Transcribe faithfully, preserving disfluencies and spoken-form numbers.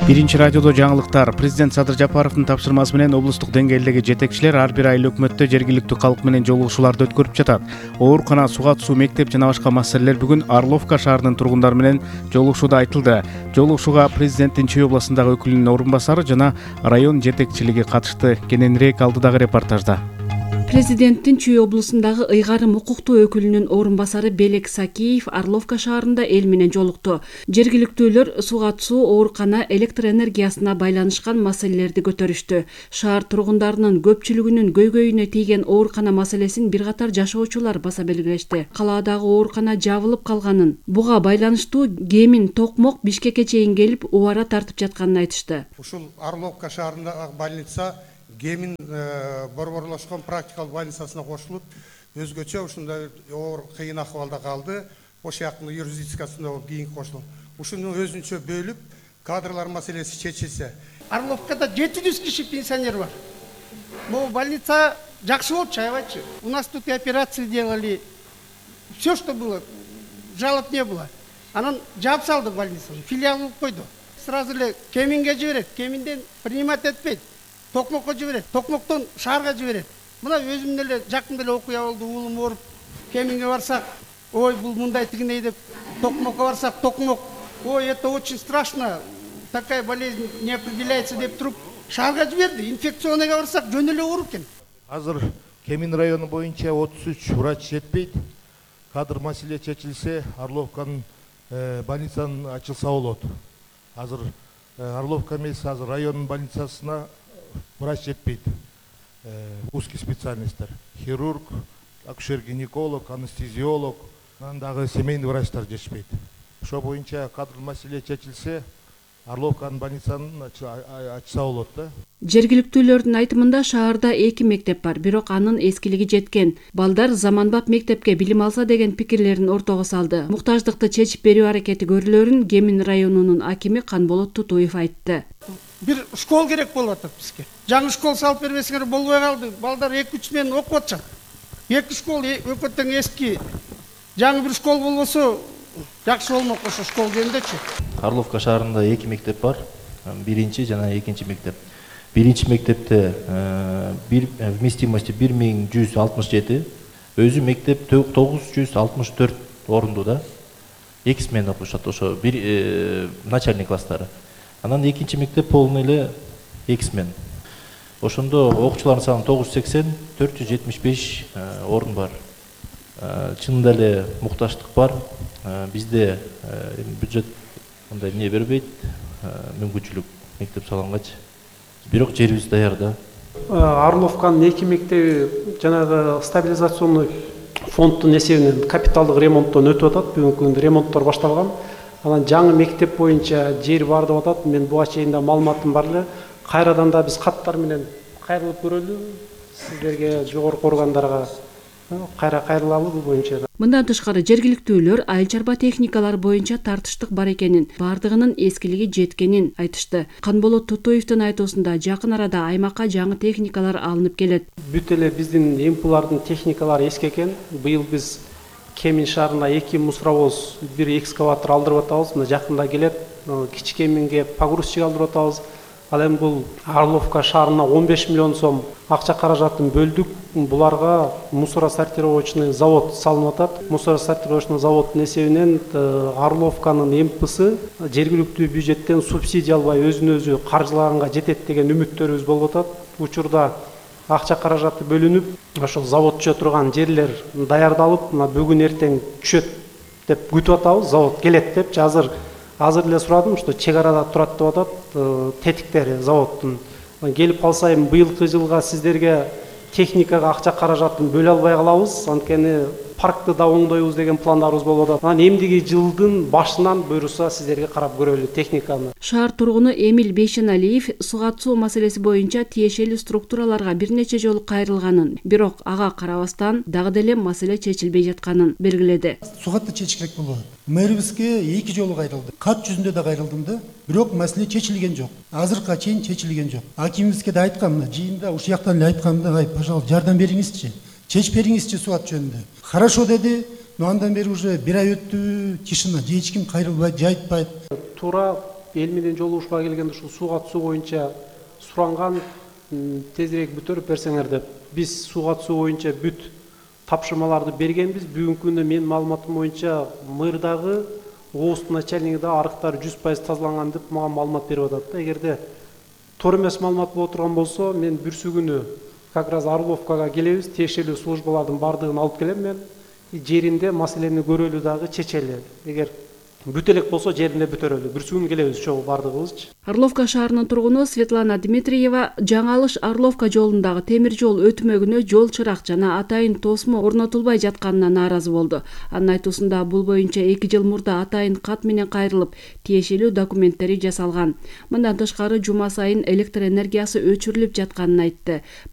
Биринчи радиодо жаңылыктар. Президент Садыр Жапаровдун тапшырмасы менен облустук деңгээлдеги жетекчилер ар бир айыл өкмөттө жергиликтүү калк менен жолугушууларды өткөрүп жатат. Оорукана, суга суу, мектеп жана башка маселелер бүгүн Орловка шаарынын тургундары менен жолугушууда айтылды. Жолугушууга президенттин Чүй областындагы өкүлүнүн орун басары жана район жетекчилиги катышты. Кененирээк алдыдагы репортажда. Президенттин Чүй облусундагы ыйгарым укуктуу өкүлүнүн орун басары Белек Сакиев Орловка шаарында эл менен жолукту. Жергиликтүүлөр суга суу, оорукана, электр энергиясына байланышкан маселелерди көтөрүштү. Шаар тургундарынын көпчүлүгүнүн көйгөйүнө тийген оорукана маселесин бир катар жашоочулар баса белгилешти. Калаадагы оорукана жабылып калганын, буга байланыштуу Кемин, Токмок Бишкекке чейин келип убара тартып жатканын айтышты. Ушул Орловка шаарындагы больница Кемин борборлошкон практикалык больницасына кошулуп, өзгөчө ушундай оор кыйын акыбалда калды. Ош жактын юрисдикциясына кийин кошулуп, ушуну өзүнчө бөлүп, кадрлар маселеси чечилсе. Орловкада жети жүз киши пенсионер бар. Бул больница жакшы болчу, аябайчы. У нас тут и операции делали. Все, что было, жалоб не было. Анан жаап салды больницаны, филиал кылып койду. Сразу эле Кеминге жиберет, Кеминден принимать этпейт. Токмокко жиберет, Токмоктон шаарга жиберет. Мына өзүм деле жакында эле окуя болду, уулум ооруп, Кеминге барсак, ой, бул мындай тигиндей деп, Токмокко барсак, Токмок, ой, это очень страшно, такая болезнь не определяется деп туруп, шаарга жиберди. Инфекционныйга барсак, жөн эле ооруп экен. Азыр Кемин району боюнча отуз үч врач жетпейт. Кадр маселе чечилсе, Орловканын больницанын ачылса болот. Азыр Орловка эмес, азыр районун больницасына врач жетпейт. Узкий специальностьтер. Хирург, акушер-гинеколог, анестезиолог, дагы семейный врачтар жетишпейт. Ошо боюнча кадр маселе чечилсе, Орловканын больницанын ачса болот да. Жергиликтүүлөрдүн айтымында шаарда эки мектеп бар, бирок анын эскилиги жеткен. Балдар заманбап мектепке билим алса деген пикирлерин ортого салды. Муктаждыкты чечип берүү аракети көрүлөрүн Кемин районунун акими Канболот Тутуев айтты. Бир школ керек болуп атат бизге. Жаңы школ салып бербесеңер болбой калды. Балдар эки үч менен окуп атышат. Эки школ өкө тең эски. Жаңы бир школ болбосо жакшы болмок ошо школ жөнүндөчү. Орловка шаарында эки мектеп бар. Биринчи жана экинчи мектеп. Биринчи мектепте бир вместимости бир миң жүз алтымыш жети, өзү мектеп тогуз жүз алтымыш төрт орунду да. Эки смена окушат ошо бир начальный класстары. Анан экинчи мектеп полный эле эки смен. Ошондо окуучулардын саны тогуз жүз сексен, төрт жүз жетимиш беш орун бар. Чынында эле мукташтык бар. Бизде бюджет мындай эмне бербейт, мүмкүнчүлүк мектеп салгангачы. Бирок жерибиз даяр да. Орловканын эки мектеби жанагы стабилизационный фонддун эсебинен капиталдык ремонттон өтүп атат. Бүгүнкү күндө ремонттор башталган. Анан жаңы мектеп боюнча жер бар деп атат. Мен буга чейин да маалыматым бар эле. Кайрадан да биз каттар менен кайрылып көрөлү. Сиздерге, жогорку органдарга кайра кайрылалы бул боюнча. Мындан тышкары жергиликтүүлөр айыл чарба техникалары боюнча тартыштык бар экенин, бардыгынын эскилиги жеткенин айтышты. Канболот Тутуевдин айтуусунда жакын арада аймакка жаңы техникалар алынып келет. Бүт эле биздин импулардын техникалары эски экен. Быйыл биз Кемин шаарына эки мусоровоз, бир экскаватор алдырып атабыз. Мына жакында келет. Кичи Кеминге погрузчик алдырып атабыз. Ал эми бул Орловка шаарына он беш миллион сом акча каражатын бөлдүк. Буларга мусоросортировочный завод салынып атат. Мусоросортировочный заводдун эсебинен Орловканын эмпысы жергиликтүү бюджеттен субсидия албай өзүн өзү каржылаганга жетет деген үмүттөрүбүз болуп атат. Учурда акча каражаты бөлүнүп, ошол заводчо турган жерлер даярдалып, мына бүгүн эртең түшөт деп күтүп атабыз. Завод келет депчи. Азыр азыр эле сурадым, что чек арада турат деп атат, тетиктери заводдун. Келип калса эми быйылкы жылга сиздерге техникага акча каражатын бөлө албай калабыз. Анткени паркты да оңдойбуз деген пландарыбыз болуп атат. Анан эмдиги жылдын башынан буйруса сиздерге карап көрөлү техниканы. Шаар тургуну Эмил Бейшеналиев суга суу маселеси боюнча тиешелүү структураларга бир нече жолу кайрылганын, бирок ага карабастан дагы деле маселе чечилбей жатканын белгиледи. Сугатты чечиш керек болду. Мэрибизге эки жолу кайрылды. Кат жүзүндө да кайрылдым да, бирок маселе чечилген жок. Азыркыга чейин чечилген жок. Акимибизге да айткам, мына жыйында ушу жактан эле айткам да, ай, пожалуйста, жардам бериңизчи. Чечип бериңизчи суат жөнүндө. Хорошо деди. Но андан бери уже бир ай өттү, тишина, же эч ким кайрылбайт, же айтпайт. Туура эл менен жолугушууга келгенде ушул сууга түсүү боюнча суранган, тезирээк бүтөрүп берсеңер деп. Биз сууга түсүү боюнча бүт тапшырмаларды бергенбиз. Бүгүнкү күндө менин маалыматым боюнча мэрдагы, ооздун начальниги да арыктар жүз пайыз тазаланган деп мага маалымат берип атат да. Эгерде туура эмес маалымат боло турган болсо, мен бүрсү күнү как раз Орловкага келебиз, тиешелүү службалардын баардыгын алып келем мен. Жеринде маселени көрөлү дагы чечели. Эгер бүт элек болсо жеринде бүтөрөлү. Бүрсү күнү келебиз чогуу баардыгыбызчы. Орловка шаарынын тургуну Светлана Дмитриева Жаңалыш Орловка жолундагы темир жол өтмөгүнө жол чырак жана атайын тосмо орнотулбай жатканына нааразы болду. Анын айтуусунда бул боюнча эки жыл мурда атайын кат менен кайрылып, тиешелүү документтери жасалган. Мындан тышкары жума сайын электр энергиясы өчүрүлүп жатканын айтты.